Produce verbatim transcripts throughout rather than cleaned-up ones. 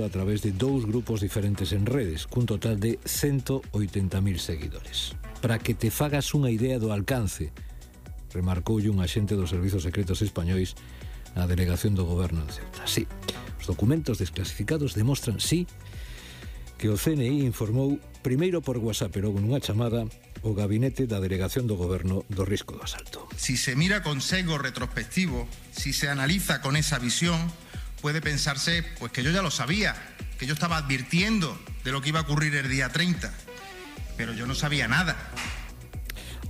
a través de dous grupos diferentes en redes, cun total de ciento oitenta mil seguidores. Para que te fagas unha idea do alcance, remarcoulle un axente dos servizos secretos españois na delegación do goberno de Ceuta. Sí, os documentos desclasificados demostran, sí, que o C N I informou primeiro por WhatsApp, pero nunha chamada, o gabinete da delegación do goberno do risco do asalto. Si se mira con sesgo retrospectivo, si se analiza con esa visión, puede pensarse pues que yo ya lo sabía, que yo estaba advirtiendo de lo que iba a ocurrir el día treinta, pero yo no sabía nada.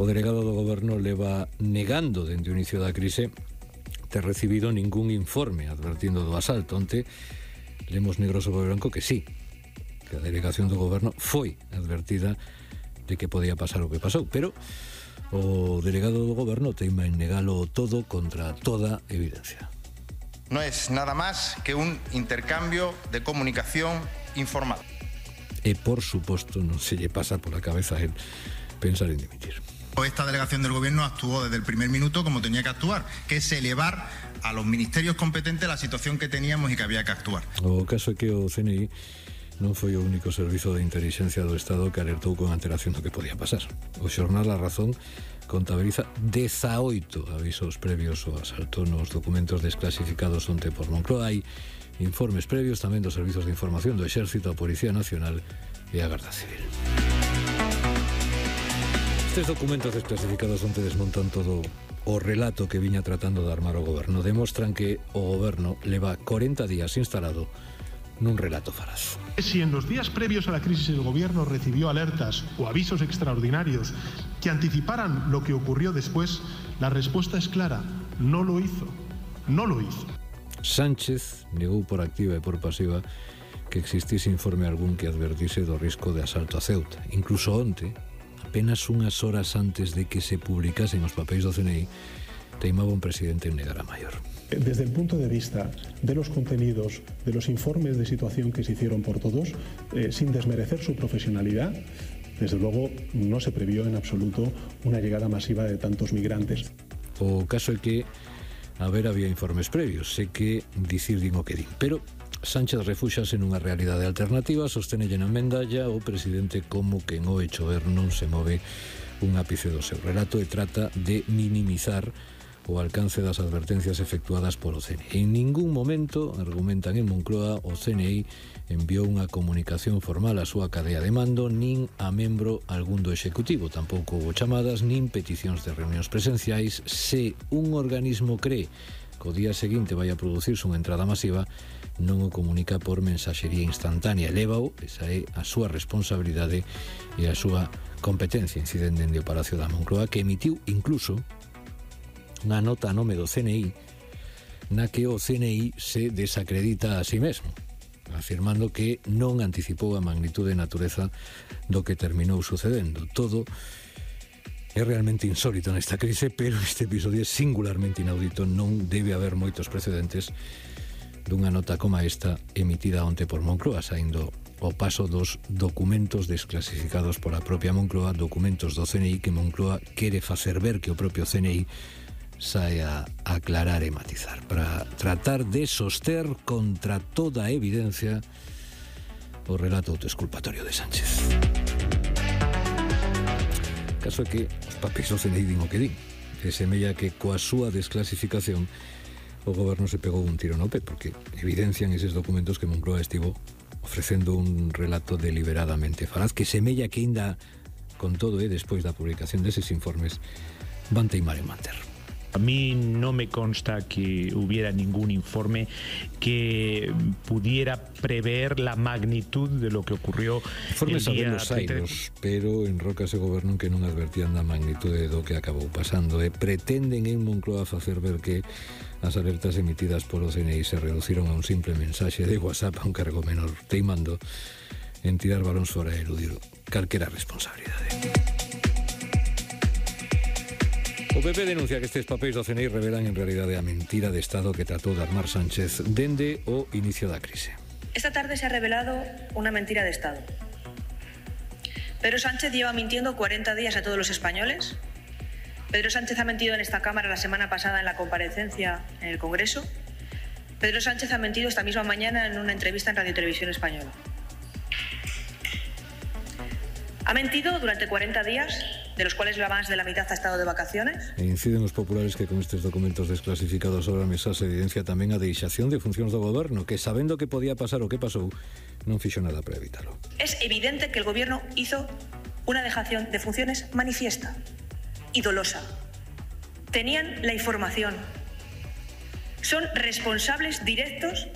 O delegado do goberno leva negando dende o inicio da crise ter recibido ningún informe advertindo do asalto. Onte lemos negro sobre branco que sí, que a delegación do goberno foi advertida de que podía pasar o que pasou, pero o delegado do goberno teima en negalo todo contra toda evidencia. No es nada más que un intercambio de comunicación informal. E, por suposto, non se lle pasa por la cabeza el pensar en dimitir. Esta delegación del gobierno actuó desde el primer minuto como tenía que actuar, que es elevar a los ministerios competentes la situación que teníamos y que había que actuar. O caso é que o C N I non foi o único servizo de inteligencia do Estado que alertou con antelación do que podía pasar. O xornal A Razón contabiliza dezaoito avisos previos ao asalto nos documentos desclasificados onte por Moncloa. Hai informes previos tamén dos servizos de información do Exército, a Policía Nacional e a Garda Civil. Estes documentos desclasificados onte desmontan todo o relato que viña tratando de armar o goberno. Demostran que o goberno leva corenta días instalado nun relato faraz. Si en los días previos a la crisis el gobierno recibió alertas o avisos extraordinarios que anticiparan lo que ocurrió después, la respuesta es clara: no lo hizo, no lo hizo. Sánchez negou por activa e por pasiva que existise informe algún que advertise do risco de asalto a Ceuta. Incluso onte, apenas unhas horas antes de que se publicasen os papéis do C N I, teimaba un presidente en negar a maior. Desde el punto de vista de los contenidos, de los informes de situación que se hicieron por todos, eh, sin desmerecer su profesionalidad, desde luego no se previó en absoluto una llegada masiva de tantos migrantes. O caso é que a ver había informes previos, sei que dicir din o que din, pero Sánchez refúxase nunha realidade alternativa, sostenelle na mendalla o presidente como que en o hecho ver non se move un ápice do seu relato e trata de minimizar o alcance das advertencias efectuadas polo C N I. En ningún momento, argumentan en Moncloa, o C N I enviou unha comunicación formal á súa cadea de mando, nin a membro algún do Executivo. Tampouco houve chamadas, nin peticións de reunións presenciais. Se un organismo cree que o día seguinte vai a producirse unha entrada masiva, non o comunica por mensaxería instantánea. Lévao, esa é a súa responsabilidade e a súa competencia. Inciden dende o Palacio da Moncloa, que emitiu incluso unha nota a nome do C N I na que o C N I se desacredita a sí mesmo, afirmando que non anticipou a magnitude e natureza do que terminou sucedendo. Todo é realmente insólito nesta crise, pero este episodio é singularmente inaudito. Non debe haber moitos precedentes dunha nota como esta emitida onte por Moncloa, saindo o paso dos documentos desclasificados pola propia Moncloa, documentos do C N I que Moncloa quere facer ver que o propio C N I sae a aclarar e matizar para tratar de soster contra toda a evidencia o relato autoexculpatorio de Sánchez. Caso é que os papéis do C N I din o que din, e semella que coa súa desclasificación o goberno se pegou un tiro no pé, porque evidencian eses documentos que Moncloa estivo ofrecendo un relato deliberadamente falaz, que semella que ainda con todo e despois da publicación deses informes van teimar en manter. A mí no me consta que hubiera ningún informe que pudiera prever la magnitud de lo que ocurrió Informes el día los airos, pero en Roca se gobernan que non advertían da magnitude do que acabou pasando e pretenden en Moncloa facer ver que as alertas emitidas polo C N I se reduciron a un simple mensaxe de WhatsApp a un cargo menor, teimando en tirar balóns fora e eludir calquera responsabilidade. O P P denuncia que estes papéis do C N I revelan en realidade a mentira de Estado que tratou de armar Sánchez dende o inicio da crise. Esta tarde se ha revelado una mentira de Estado. Pedro Sánchez lleva mintiendo cuarenta días a todos los españoles. Pedro Sánchez ha mentido en esta Cámara la semana pasada en la comparecencia en el Congreso. Pedro Sánchez ha mentido esta misma mañana en una entrevista en Radio Televisión Española. Ha mentido durante cuarenta días, de los cuales la más de la mitad ha estado de vacaciones. E inciden os populares que con estes documentos desclasificados sobre a mesa se evidencia tamén a deixación de funcións do goberno, que sabendo que podía pasar o que pasou, non fixo nada para evitalo. Es evidente que el gobierno hizo una dejación de funciones manifiesta y dolosa. Tenían la información. Son responsables directos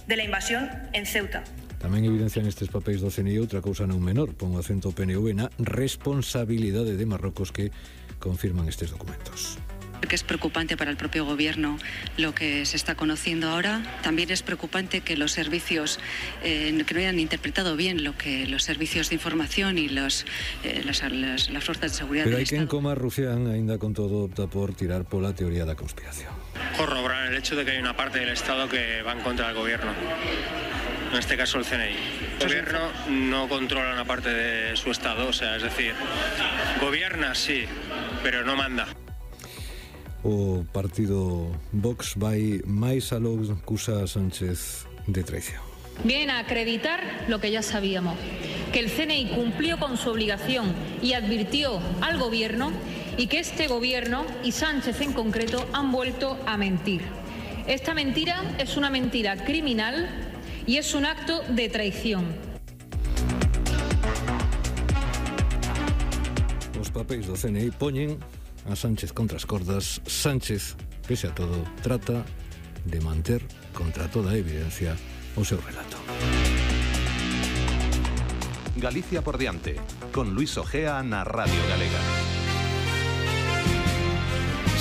de la invasión en Ceuta. Tamén evidencian estes papéis do C N I outra cousa non menor, pon o acento P N V na responsabilidade de Marrocos que confirman estes documentos. Que es preocupante para el propio gobierno lo que se está conociendo ahora. También es preocupante que los servicios eh, que no hayan interpretado bien lo que los servicios de información y los, eh, las, las, las fuerzas de seguridad Pero del hai quen Estado. coma Rufián, aínda con todo, opta por tirar pola teoría da conspiración. Corroborar el hecho de que hay una parte del Estado que va en contra del gobierno. En este caso el C N I. El gobierno no controla una parte de su Estado, o sea, es decir, gobierna sí, pero no manda. O partido Vox vai máis aló que acusa a Sánchez de traición. Vienen a acreditar lo que ya sabíamos, que el C N I cumplió con su obligación y advirtió al gobierno y que este gobierno y Sánchez en concreto han vuelto a mentir. Esta mentira es una mentira criminal y es un acto de traición. Os papéis do C N I poñen a Sánchez contra as cordas. Sánchez, pese a todo, trata de manter contra toda evidencia o seu relato. Galicia por diante, con Luis Ojea na Radio Galega.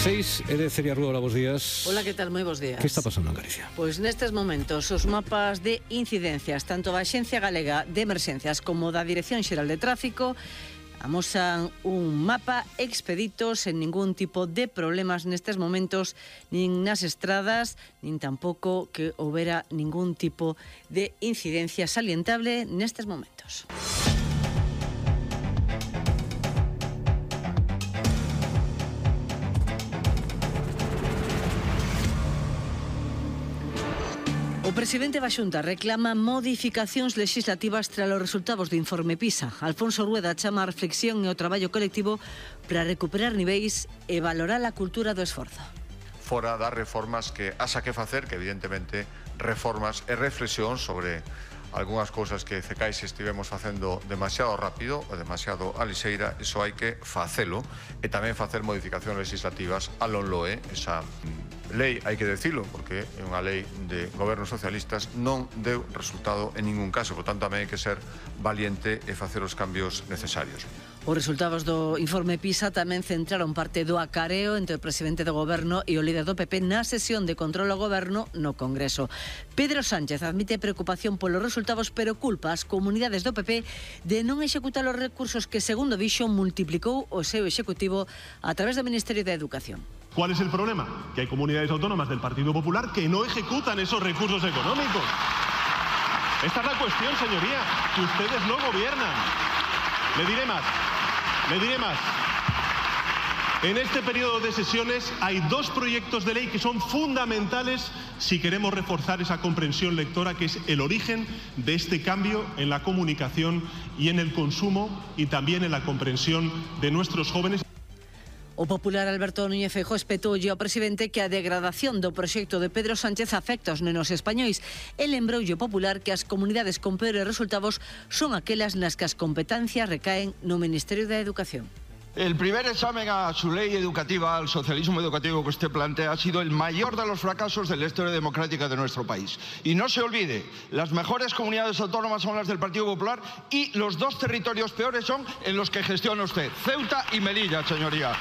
seis e de Celia Rúa, hola, bos días. Hola, que tal? Moi bos días. Que está pasando en Galicia? Pois nestes momentos os mapas de incidencias, tanto da Axencia Galega de Emerxencias como da Dirección Xeral de Tráfico, amosan un mapa expedito sen ningún tipo de problemas nestes momentos, nin nas estradas, nin tampouco que houbera ningún tipo de incidencia salientable nestes momentos. O presidente da Xunta reclama modificacións legislativas tras os resultados do informe PISA. Alfonso Rueda chama a reflexión e o traballo colectivo para recuperar niveis e valorar a cultura do esforzo. Fora das reformas que haxa que facer, que evidentemente reformas e reflexión sobre algunhas cousas que Cecais estivemos facendo demasiado rápido ou demasiado a lixeira, iso hai que facelo, e tamén facer modificacións legislativas a lonloe, esa lei, hai que decilo, porque é unha lei de gobernos socialistas, non deu resultado en ningún caso, por tanto tamén hai que ser valiente e facer os cambios necesarios. Os resultados do informe PISA tamén centraron parte do acareo entre o presidente do goberno e o líder do P P na sesión de control ao goberno no Congreso. Pedro Sánchez admite preocupación polos resultados, pero culpa as comunidades do P P de non executar os recursos que, segundo dixo, multiplicou o seu executivo a través do Ministerio de Educación. ¿Cuál es el problema? Que hay comunidades autónomas del Partido Popular que no ejecutan esos recursos económicos. Esta es la cuestión, señoría, que ustedes no gobiernan. Le diré más, le diré más. En este periodo de sesiones hay dos proyectos de ley que son fundamentales si queremos reforzar esa comprensión lectora, que es el origen de este cambio en la comunicación y en el consumo, y también en la comprensión de nuestros jóvenes. O popular Alberto Núñez Feijóo espetoulle ao presidente que a degradación do proxecto de Pedro Sánchez afecta aos nenos españois e lembroulle o popular que as comunidades con peores resultados son aquelas nas que as competencias recaen no Ministerio da Educación. El primer examen a su ley educativa, al socialismo educativo que usted plantea, ha sido el mayor de los fracasos de la historia democrática de nuestro país. Y no se olvide, las mejores comunidades autónomas son las del Partido Popular y los dos territorios peores son en los que gestiona usted, Ceuta y Melilla, señoría.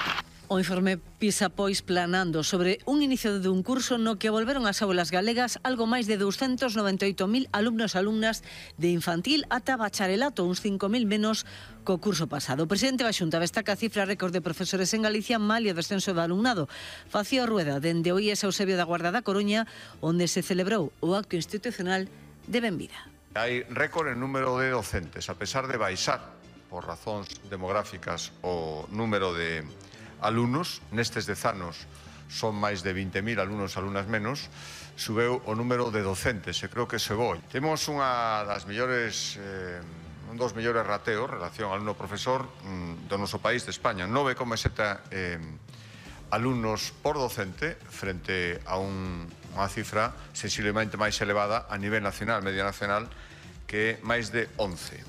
O informe PISA, pois, planando sobre un inicio dun curso no que volveron ás aulas galegas algo máis de doscientos noventa e oito mil alumnos e alumnas de infantil ata bacharelato, uns cinco mil menos co curso pasado. O presidente da Xunta destaca a cifra récord de profesores en Galicia mal e o descenso do alumnado. Facía Rueda dende o I E S Eusebio da Guarda da Coruña, onde se celebrou o acto institucional de benvida. Hai récord en número de docentes, a pesar de baixar por razóns demográficas o número de alumnos nestes dez anos son máis de vinte mil alumnos e alumnas menos, subeu o número de docentes, e creo que se voi. Temos unha das mellores, eh, un dos mellores rateos, relación alumno-profesor do noso país, de España, nove coma sete eh, alumnos por docente, frente a un, unha cifra sensiblemente máis elevada a nivel nacional, media nacional, que é máis de once.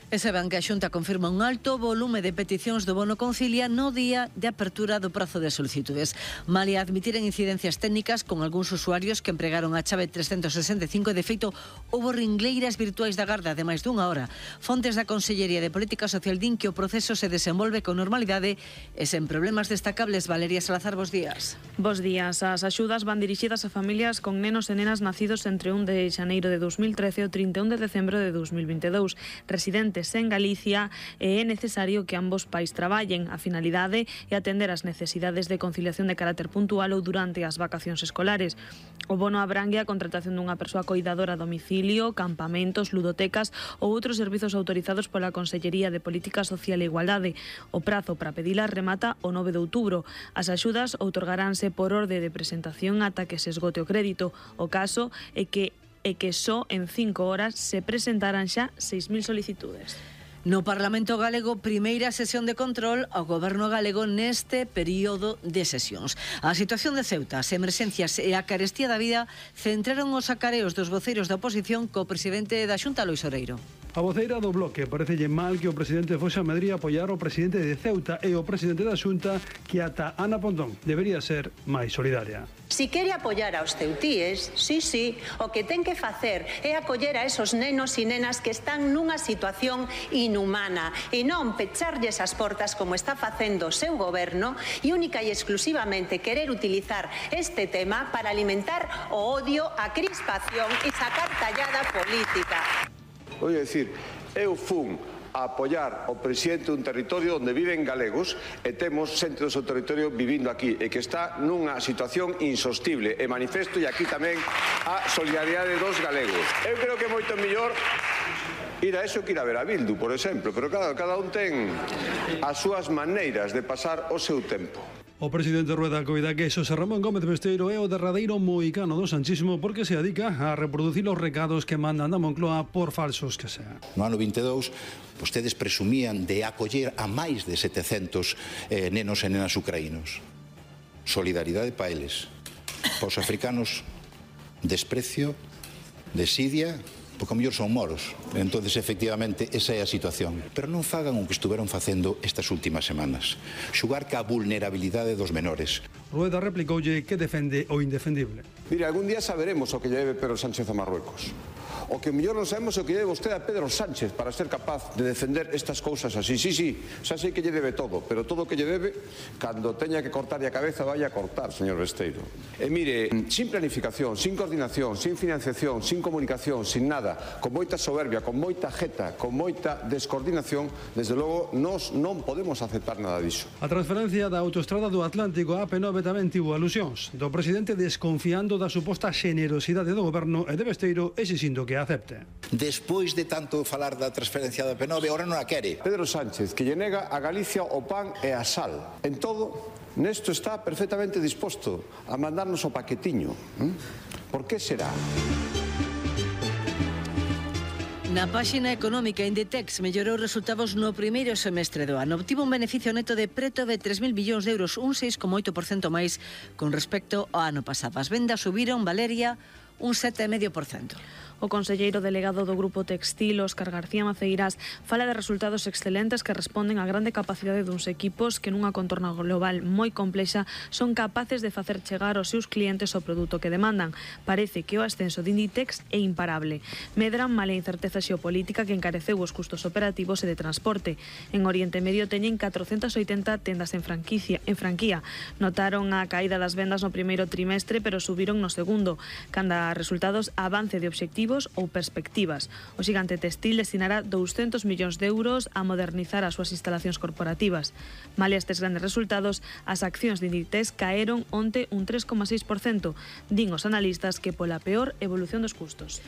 E saben que a Xunta confirma un alto volume de peticións do bono Concilia no día de apertura do prazo de solicitudes. Malia admitiren incidencias técnicas con algúns usuarios que empregaron a chave trescentos sesenta e cinco, de feito, houbo ringleiras virtuais da Garda de máis dunha hora. Fontes da Consellería de Política Social din que o proceso se desenvolve con normalidade e sen problemas destacables. Valeria Salazar, bos días. Bos días. As axudas van dirixidas a familias con nenos e nenas nacidos entre un de xaneiro de dos mil trece e o trinta e un de decembro de dos mil vinte e dous. Residentes en Galicia, e é necesario que ambos pais traballen. A finalidade é atender as necesidades de conciliación de carácter puntual ou durante as vacacións escolares. O bono abrangue a contratación dunha persoa coidadora a domicilio, campamentos, ludotecas ou outros servizos autorizados pola Consellería de Política Social e Igualdade. O prazo para pedilas remata o nove de outubro. As axudas outorgaránse por orde de presentación ata que se esgote o crédito. O caso é que e que só en cinco horas se presentaran xa seis mil solicitudes. No Parlamento Galego, primeira sesión de control ao Goberno galego neste período de sesións. A situación de Ceuta, as emerxencias e a carestía da vida centraron os acareos dos voceiros da oposición co presidente da Xunta, Lois Oreiro. A voceira do Bloque parecelle mal que o presidente foxe a Madrid a apoiar o presidente de Ceuta e o presidente da Xunta, que ata Ana Pontón debería ser máis solidaria. Si quere apoiar aos ceutíes, sí, sí, o que ten que facer é acoller a esos nenos e nenas que están nunha situación inhumana e non pecharlles as portas como está facendo o seu goberno e única e exclusivamente querer utilizar este tema para alimentar o odio, a crispación e sacar tallada política. Vou dicir, eu fun a apoiar o presidente dun territorio onde viven galegos e temos xente do seu territorio vivindo aquí e que está nunha situación insostible e manifesto e aquí tamén a solidariedade dos galegos. Eu creo que é moito mellor ir a eso que ir a ver a Bildu, por exemplo, pero claro, cada un ten as súas maneiras de pasar o seu tempo. O presidente Rueda coida que Xosé Ramón Gómez Besteiro é o derradeiro moicano do sanchismo porque se dedica a reproducir os recados que mandan da Moncloa por falsos que sean. No ano vinte e dous, vostedes presumían de acoller a máis de setecentos eh, nenos e nenas ucraínos. Solidaridade pa eles. Pa os africanos, desprecio, desidia, porque a mellor son moros. Entonces, efectivamente, esa é a situación. Pero non fagan o que estuveron facendo estas últimas semanas. Xugar ca vulnerabilidade dos menores. Rueda replicoulle que defende o indefendible. Mire, algún día saberemos o que lle debe Pedro Sánchez a Marruecos. O que mellor non sabemos o que lle debe vostede a Pedro Sánchez para ser capaz de defender estas cousas así. Sí, sí, xa sei que lle debe todo, pero todo o que lle debe, cando teña que cortarlle a cabeza, vaya a cortar, señor Besteiro. E mire, sin planificación, sin coordinación, sin financiación, sin comunicación, sin nada, con moita soberbia, con moita jeta, con moita descoordinación, desde logo, nós non podemos aceptar nada diso. A transferencia da autoestrada do Atlántico a A P nove tamén tivo alusións do presidente desconfiando da suposta xenerosidade do goberno e de Besteiro exixindo que acepte. Despois de tanto falar da transferencia da A P nove, ahora non a quere. Pedro Sánchez, que lle nega a Galicia o pan e a sal. En todo, nesto está perfectamente disposto a mandarnos o paquetiño. Por que será? Na páxina económica, Inditex mellorou resultados no primeiro semestre do ano. Obtivo un beneficio neto de preto de tres mil billóns de euros, un seis coma oito por cento máis con respecto ao ano pasado. As vendas subiron, Valeria, un sete coma cinco por cento. O conselleiro delegado do Grupo Textil, Óscar García Maceiras, fala de resultados excelentes que responden á grande capacidade duns equipos que nunha contorna global moi complexa son capaces de facer chegar aos seus clientes o produto que demandan. Parece que o ascenso de Inditex é imparable. Medran mala incerteza xeopolítica que encareceu os custos operativos e de transporte. En Oriente Medio teñen catrocentas oitenta tendas en franquicia, en franquía. Notaron a caída das vendas no primeiro trimestre, pero subiron no segundo. Canda a resultados, avance de obxectivos ou perspectivas. O xigante textil destinará douscentos millóns de euros a modernizar as súas instalacións corporativas. Malia estes grandes resultados, as accións de Inditex caeron onte un tres coma seis por cento. Din os analistas que pola peor evolución dos custos.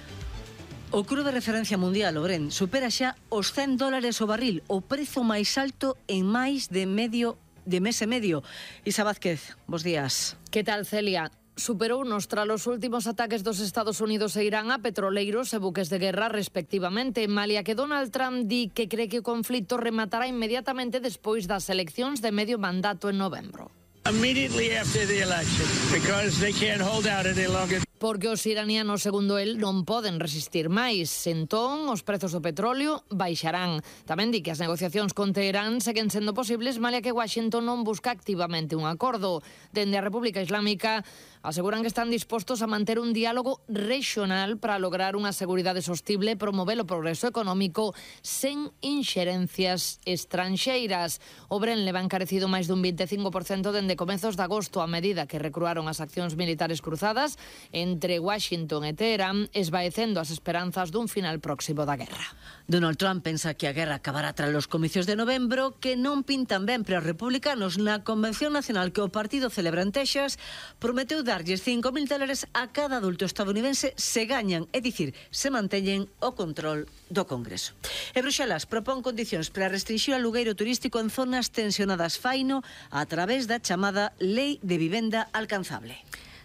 O cru de referencia mundial, o Brent, supera xa os cen dólares o barril, o prezo máis alto en máis de medio de mes e medio. Isa Vázquez, bos días. Que tal, Celia? Superou nos tras os últimos ataques dos Estados Unidos e Irán a petroleiros e buques de guerra respectivamente, malia que Donald Trump di que cree que o conflito rematará inmediatamente despois das eleccións de medio mandato en novembro. Immediately after the election, because they can't hold out any longer. Porque os iranianos, segundo el, non poden resistir máis. Entón, os prezos do petróleo baixarán. Tamén di que as negociacións con Teherán seguen sendo posibles, malia que Washington non busca activamente un acordo. Dende a República Islámica aseguran que están dispostos a manter un diálogo regional para lograr unha seguridade sostible e promover o progreso económico sen inxerencias estranxeiras. O Bren leva encarecido máis dun veinticinco por cento dende comezos de agosto a medida que recruaron as accións militares cruzadas entre Washington e Teherán, esvaecendo as esperanzas dun final próximo da guerra. Donald Trump pensa que a guerra acabará tras os comicios de novembro, que non pintan ben para os republicanos. Na Convención Nacional que o partido celebra en Texas, prometeu darlles cinco mil dólares a cada adulto estadounidense se gañan, é dicir, se manteñen o control do Congreso. E Bruxelas propón condicións para restringir o alugueiro turístico en zonas tensionadas faino a través da chamada Lei de Vivenda Alcanzable.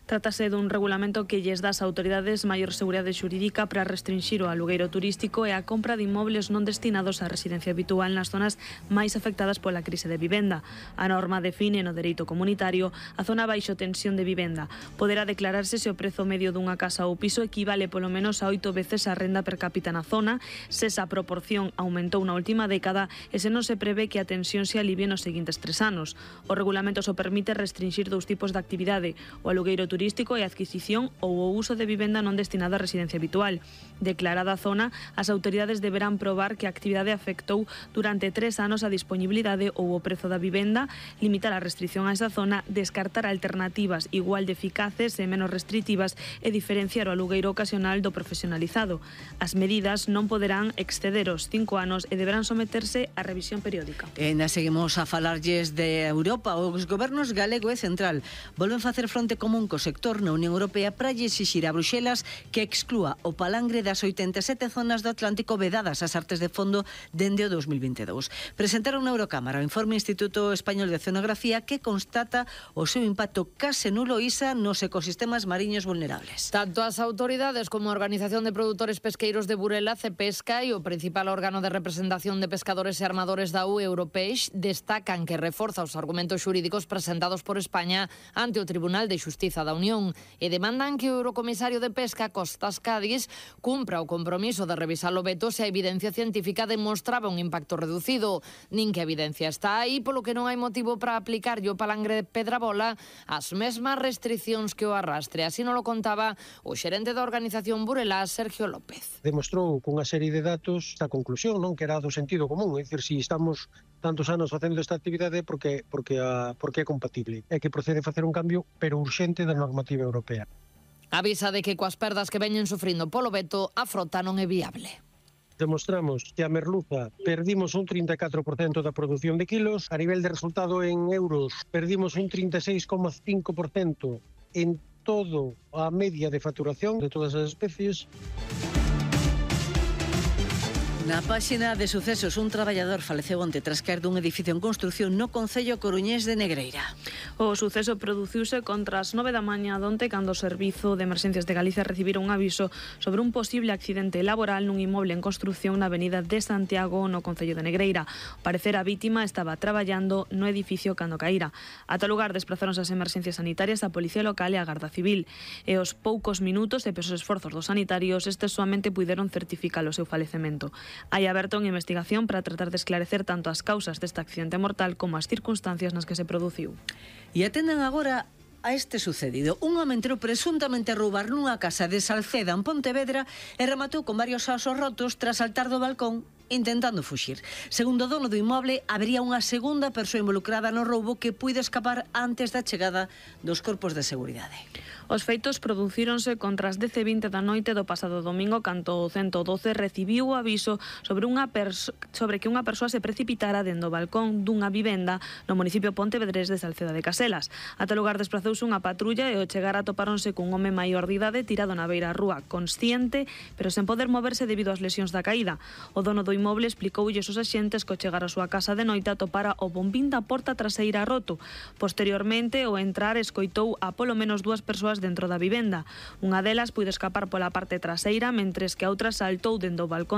Trátase dun regulamento que lles dá ás autoridades maior seguridade xurídica para restringir o alugueiro turístico e a compra de inmobles non destinados á residencia habitual nas zonas máis afectadas pola crise de vivenda. A norma define no dereito comunitario a zona baixo tensión de vivenda. Poderá declararse se o prezo medio dunha casa ou piso equivale polo menos a oito veces a renda per cápita na zona, se esa proporción aumentou na última década e se non se prevé que a tensión se alivie nos seguintes tres anos. O regulamento só permite restringir dous tipos de actividade: o alugueiro turístico e a adquisición ou o uso de vivenda non destinada a residencia habitual. Declarada a zona, as autoridades deberán probar que a actividade afectou durante tres anos a disponibilidade ou o prezo da vivenda, limitar a restricción a esa zona, descartar alternativas igual de eficaces e menos restritivas e diferenciar o alugueiro ocasional do profesionalizado. As medidas non poderán exceder os cinco anos e deberán someterse a revisión periódica. E na seguimos a falarlles de Europa. Os gobernos galego e central volven facer fronte común co sector na Unión Europea para lle exixir a Bruxelas que exclúa o palangre das oitenta e sete zonas do Atlántico vedadas ás artes de fondo dende o dos mil vinte e dous. Presentaron na Eurocámara o informe Instituto Español de Oceanografía que constata o seu impacto case nulo ISA nos ecosistemas mariños vulnerables. Tanto as autoridades como a Organización de Produtores Pesqueiros de Burela, Cepesca, e o principal órgano de representación de pescadores e armadores da U E, Europeix, destacan que reforza os argumentos xurídicos presentados por España ante o Tribunal de Xustiza da Unión e demandan que o Eurocomisario de Pesca, Costas Cádiz, cumpra o compromiso de revisar o veto se a evidencia científica demostraba un impacto reducido. Nin que a evidencia está aí, polo que non hai motivo para aplicar o palangre de Pedrabola as mesmas restriccións que o arrastre. Así non lo contaba o xerente da organización Burela, Sergio López. Demostrou cunha serie de datos esta conclusión, non, que era do sentido común, é dicir, si estamos tantos anos facendo esta actividade porque porque a porque é compatible. É que procede facer un cambio pero urxente da normativa europea. Avisa de que coas perdas que veñen sufrindo polo veto, a frota non é viable. Demostramos que a merluza perdimos un trinta e catro por cento da produción de kilos, a nivel de resultado en euros perdimos un trinta e seis coma cinco por cento en todo a media de facturación de todas as especies. Na páxina de sucesos, un traballador faleceu onte tras caer dun edificio en construción no concello coruñés de Negreira. O suceso produciuse contra as nove da mañá donte cando o Servizo de Emerxencias de Galicia recibiron un aviso sobre un posible accidente laboral nun inmoble en construción na avenida de Santiago no concello de Negreira. Ao parecer, a vítima estaba traballando no edificio cando caíra. Ata lugar desplazáronse as emerxencias sanitarias, a Policía Local e a Garda Civil. E aos poucos minutos e pesos esforzos dos sanitarios, estes soamente puideron certificar o seu falecemento. Hai aberto unha investigación para tratar de esclarecer tanto as causas deste accidente mortal como as circunstancias nas que se produciu. E atendan agora a este sucedido. Un home entrou presuntamente a roubar nunha casa de Salceda en Pontevedra e rematou con varios asos rotos tras saltar do balcón intentando fuxir. Segundo o dono do inmoble, habería unha segunda persoa involucrada no roubo que puido escapar antes da chegada dos corpos de seguridade. Os feitos producíronse contra as dez e vinte da noite do pasado domingo, cando o ciento doce recibiu o aviso sobre unha sobre que unha persoa se precipitara dentro do balcón dunha vivenda no municipio pontevedrés de Salceda de Caselas. Ata lugar desprazouse unha patrulla e ao chegar atopáronse cun home maior de idade tirado na beira rúa, consciente, pero sen poder moverse debido ás lesións da caída. O dono do inmoble inmoble explicoulles os axentes que ao chegar á súa casa de noite atopara o bombín da porta traseira roto. Posteriormente, ao entrar, escoitou a polo menos dúas persoas dentro da vivenda. Unha delas puido escapar pola parte traseira, mentres que a outra saltou dende o balcón